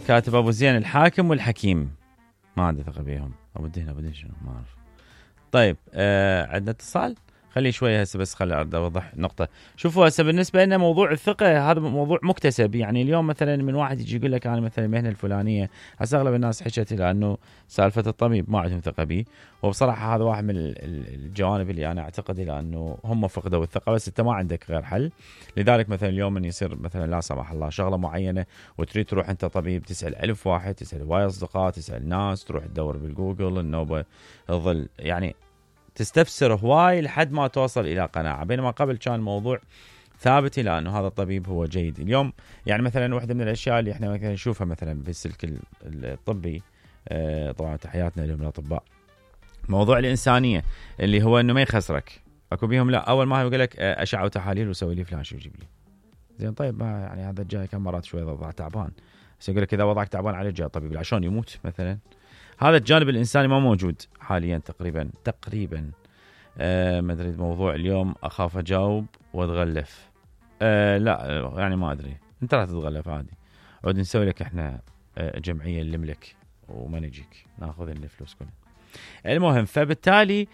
كاتب ابو زين الحاكم والحكيم ما عندي ثقه بيهم. ابو الدين شنو ما اعرف. طيب عندنا اتصال. خلي شويه هسه بس خلي اوضح نقطه. شوفوا هسه بالنسبه لنا موضوع الثقه هذا موضوع مكتسب. يعني اليوم مثلا من واحد يجي يقول لك انا مثلا المهنه الفلانيه، هسه اغلب الناس حكت لانه سالفه الطبيب ما عندهم ثقه به، وبصراحه هذا واحد من الجوانب اللي انا اعتقد لانه هم فقدوا الثقه، بس انت ما عندك غير حل. لذلك مثلا اليوم من يصير مثلا لا سمح الله شغله معينه وتريد تروح انت طبيب، تسال ألف واحد، تسال هواي اصدقاء، تسال ناس، تروح تدور بالجوجل النوبه تظل يعني تستفسر هواي لحد ما توصل إلى قناعة، بينما قبل كان الموضوع ثابت إلى أنه هذا الطبيب هو جيد. اليوم يعني مثلا واحدة من الأشياء اللي احنا مثلا نشوفها مثلا بالسلك الطبي، طبعا تحياتنا لهم الأطباء، موضوع الإنسانية اللي هو أنه ما يخسرك. أكو بيهم لا أول ما يقول لك أشعة وتحاليل وسوي لي فلان شو يجيب لي زين. طيب ما يعني هذا الجاي كم مرات شوي وضع تعبان، بس يقول لك إذا وضعك تعبان على جاي طبيب عشان يموت مثلا. هذا الجانب الإنساني ما موجود حاليا تقريبا. ما أدري موضوع اليوم أخاف أجاوب وأتغلف. لا يعني ما أدري، أنت راح تتغلف عادي. عود نسوي لك إحنا جمعية نملك وما نجيك ناخذ الفلوس كلها. المهم فبالتالي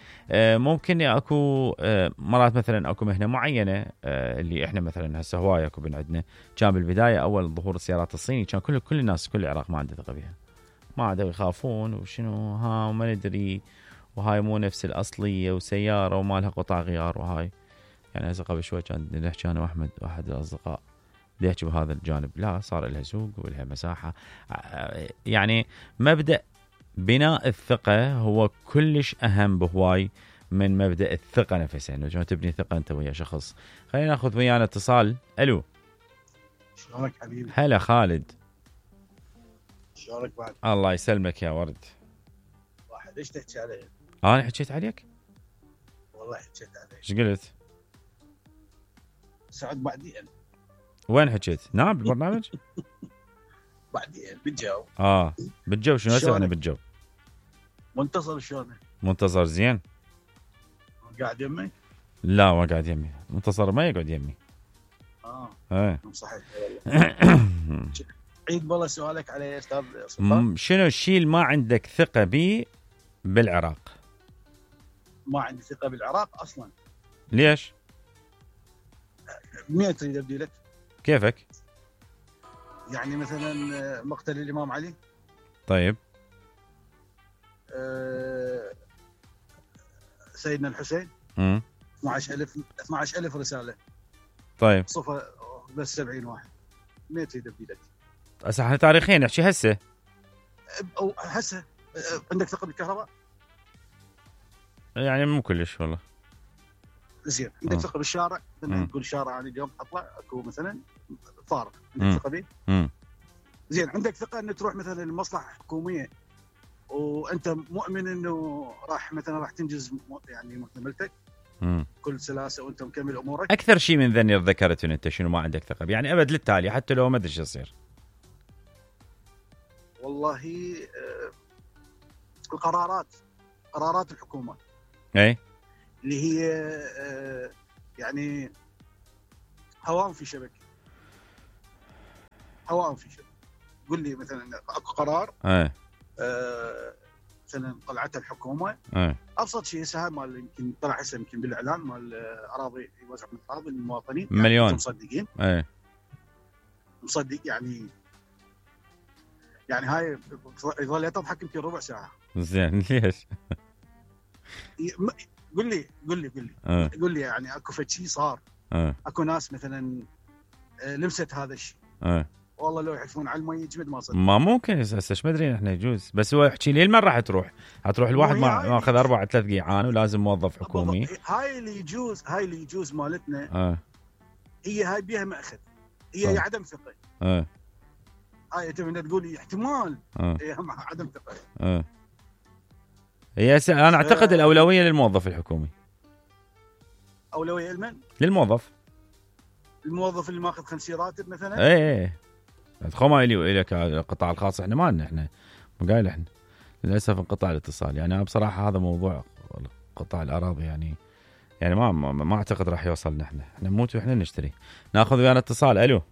ممكن أكو مرات مثلا أكو مهنة معينة اللي إحنا مثلا هسه هواية أكو عندنا. كان بالبداية أول ظهور السيارات الصيني كان كل الناس كل العراق ما عنده ثقة بها، ما عادوا يخافون وشنو ها وما ندري وهاي مو نفس الأصلية وسيارة وما لها قطع غيار وهاي. يعني هسه قبل شوي كان نحكي أنا وأحمد واحد الأصدقاء يحكي بهذا الجانب، لا صار لها سوق ولها مساحة. يعني مبدأ بناء الثقة هو كلش أهم بهواي من مبدأ الثقة نفسها، إنه شلون تبني ثقة أنت ويا شخص. خلينا ناخذ ويانا اتصال. ألو شلونك حبيبي؟ هلا خالد. شلونك بعد؟ الله يسلمك يا ورد. واحد ايش تحكي علي؟ أنا حكيت عليك؟ والله حكيت عليك. ايش قلت؟ سعد بعدين. وين حكيت؟ نعم بالبرنامج؟ بعدين بالجو. بالجو شنو هسه احنا بالجو؟ منتصر شلونك؟ منتصر زين. قاعد يمك؟ لا ما قاعد يمي، منتصر ما يقعد يمي. صحيح والله. عيد بالله سؤالك على يا استاذ سلطان. شنو الشيء اللي ما عندك ثقة به بالعراق؟ ما عندي ثقة بالعراق اصلا. ليش؟ مين تريد ابدي لك؟ كيفك؟ يعني مثلا مقتل الامام علي. طيب. سيدنا الحسين. 12000 رسالة. طيب. صفة بس 70 واحد. مين تريد ابدي لك؟ هسه احنا تاريخيا نحكي هسه. او هسه عندك ثقة بالكهرباء؟ يعني مو كلش والله. زين عندك ثقة بالشارع؟ تقول الشارع انا اليوم اطلع اكو مثلا فارق، عندك ثقة به؟ زين عندك ثقة ان تروح مثلا المصلحة الحكومية وانت مؤمن انه راح تنجز يعني محتملتك كل سلاسة وانت مكمل امورك؟ اكثر شيء من ذني ذكرت انت شنو ما عندك ثقة، يعني ابد للتالي حتى لو ما ادري ايش يصير. والله قرارات الحكومة اي اللي هي يعني هوام في شبكة. قل لي مثلا اكو قرار مثلا طلعتها الحكومة. ابسط شيء هسه مال يمكن طلع هسه يمكن بالاعلان مال اراضي يوزع من اراضي للمواطنين مليون مصدقين. مصدق يعني هاي يظل تضحك يمكن ربع ساعة. زين ليش؟ قل لي يعني اكو شيء صار. اكو ناس مثلا لمست هذا الشيء. والله لو يحلفون على المي يجمد ما صدق. ما ممكن هسه ايش مدري احنا يجوز، بس هو يحكي لي المره راح تروح الواحد ما اخذ 4-3 قيعان ولازم موظف حكومي. هاي اللي يجوز مالتنا. هي هاي بيها ماخذ، هي عدم ثقه. هاي انت من تقول لي احتمال هي عدم ثقه. هي انا اعتقد الاولويه للموظف الحكومي. اولويه لمن؟ للموظف اللي ماخذ 5 راتب مثلا. ايه خو الى القطاع الخاص احنا ما لنا، احنا قايل احنا للاسف انقطع الاتصال. يعني انا بصراحه هذا موضوع قطاع الاراضي يعني ما اعتقد راح يوصلنا. احنا نموت واحنا نشتري. ناخذ ويانا اتصال. الو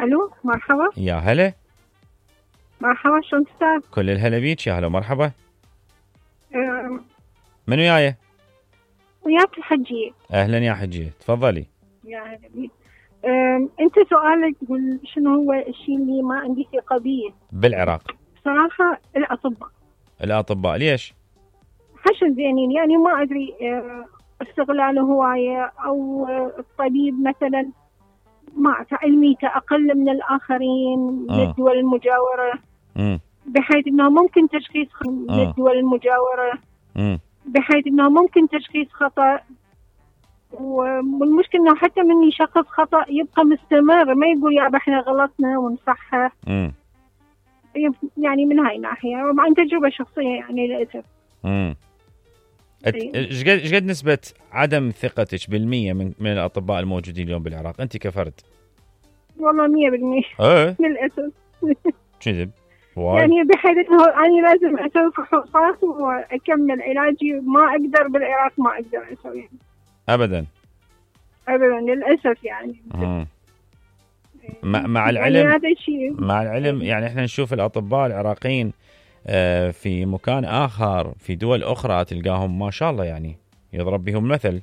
الو مرحبا. يا هلا. مرحبا شلون استاذ؟ كل الهلا بيك، يا هلا ومرحبا. من وياي؟ وياك الحجية. اهلا يا حجية، تفضلي. يا هلا بيك. انت سؤالك شنو هو الشيء اللي ما عندي ثقة به بالعراق؟ صراحة الأطباء ليش؟ حشن زينين، يعني ما أدري استغلاله هواية أو الطبيب مثلا ما علميته أقل من الآخرين من الدول المجاورة، بحيث أنه ممكن تشخيص من الدول المجاورة، بحيث أنه ممكن تشخيص خطأ، والمشكلة أنه حتى من يشخص خطأ يبقى مستمر، ما يقول يا احنا غلطنا ونصحح. يعني من هاي الناحية وعن تجربة شخصية يعني للأسف. ايش قد نسبة عدم ثقتك بالمية من الأطباء الموجودين اليوم بالعراق أنت كفرد؟ والله 100% للأسف. كذب يعني بحيث أنه أنا لازم أسوي فحوصات وأكمل علاجي، ما أقدر بالعراق، ما أقدر أسوي أبدا للأسف يعني. مع العلم يعني هذا الشيء مع العلم يعني احنا نشوف الأطباء العراقيين في مكان آخر في دول أخرى تلقاهم ما شاء الله يعني يضرب بهم مثل،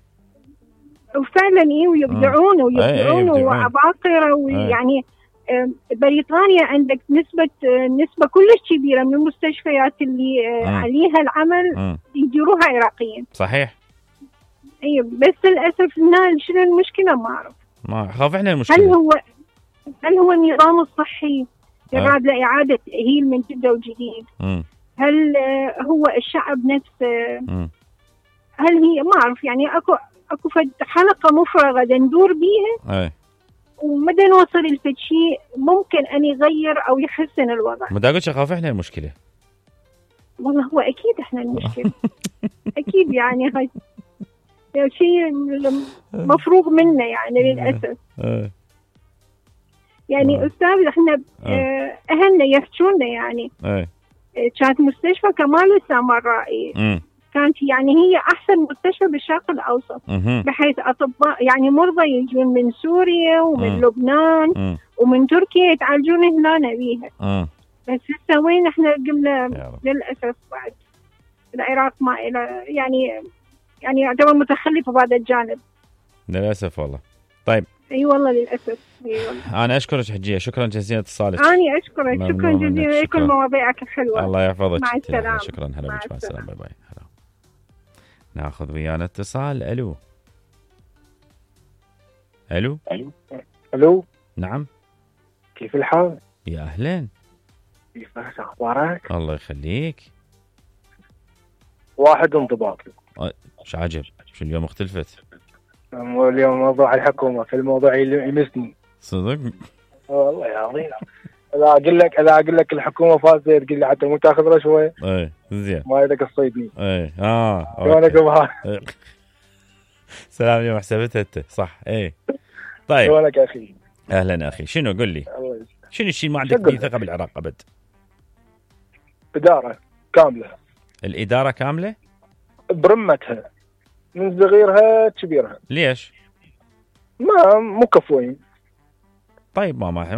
وفعلا ويبدعون وعباقرة ويعني بريطانيا عندك نسبة كلش كبيرة من المستشفيات اللي عليها العمل يديروها عراقيين. صحيح. بس للأسف شنو المشكلة ما أعرف. ما خاف احنا المشكلة. هل هو النظام الصحي يراد لإعادة تأهيل من جدة وجديد؟ هل هو الشعب نفسه؟ هل هي ما أعرف يعني أكو حلقة مفرغة ندور بيها ومدى نوصل لفد شيء ممكن أن يغير أو يحسن الوضع. ما داقتش أخاف إحنا المشكلة. والله هو أكيد إحنا المشكلة. أكيد يعني هاي شيء مفروغ منه يعني للأسف. يعني أستاذ إحنا أهلنا يحجونا يعني كانت مستشفى كمال السامرائي كانت يعني هي أحسن مستشفى بالشرق الأوسط، بحيث أطباء يعني مرضى يجون من سوريا ومن لبنان ومن تركيا يتعالجون هنا بيها. بس هسه وين احنا قمنا للأسف بعد العراق ما إلى يعني يعتبر متخلف بهذا الجانب للأسف والله. طيب والله للأسف. والله. أنا أشكرك حجية، شكرا جزيلا اتصالك. أنا أشكرك شكرا جزيلا لكل مواضيعك الحلوة. الله يحفظك. مع السلامة. شكرا. هلا بك. مع السلامة. باي باي. هلا. ناخذ ويانا اتصال. ألو. نعم. كيف الحال؟ يا أهلين. كيف أخبارك؟ الله يخليك. واحد انضباط. شو عجب، شو اليوم اختلفت؟ اليوم موضوع الحكومة في الموضوع اللي يمسني صدق؟ والله يا عظيم. اذا اقول لك الحكومه فازت تقول لي حتى مو تاخذ رشوه. زين. ما يدك تصيدني. شلونك سلام اليوم حسبتها انت صح. طيب شلونك يا اخي؟ اهلا اخي. شنو قل لي شنو الشيء ما عندك فيه ثقه بالعراق ابد؟ اداره كامله. الاداره كامله برمتها من صغيرها كبيرها. ليش؟ مو كفوين. طيب ماما